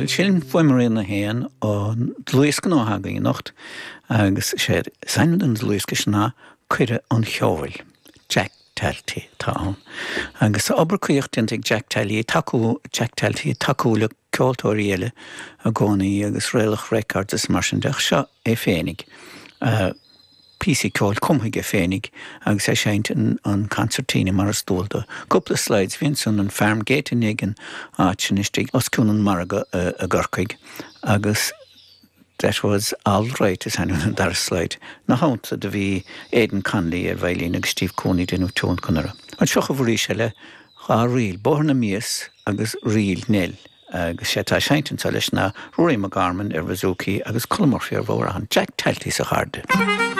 Bhuel, sin Fuaimrian 1 an dlúthdhiosca nua atá againn anocht agus is é is ainm don dlúthdhiosca sin ná Cuireadh an Cheoil. Jack Talty atá ann. Agus tá obair caoch déanta ag Jack Tally ag tacú Jack Talty ag tacú le ceoltóirí eile i gcónaí agus Raelach Records is mar sin de ach seo é féinig. Píosaí ceoil cumtha aige féinig agus é ag seinnt an concertina mar is dual dó. Cúpla slides, bhí ansan an Farmgate in ag an áit sin istigh os cionn an margadh i gCorcaigh agus That was Alright is ainm don dara slide. Ina theannta do bhí Aidan Connolly ar veidhlín agus Steve Cooney ag déanamh tionlacan orthu. Anseo chugaibh arís eile, dha ríl, Bóthar na Mias agus Ríl Nell. Agus sé atá ag seinnt anseo leis ná Ruairí Mac Gorman ar bhouzouki agus Colm Murphy ar bhodhrán. Jack Talty sa chairde.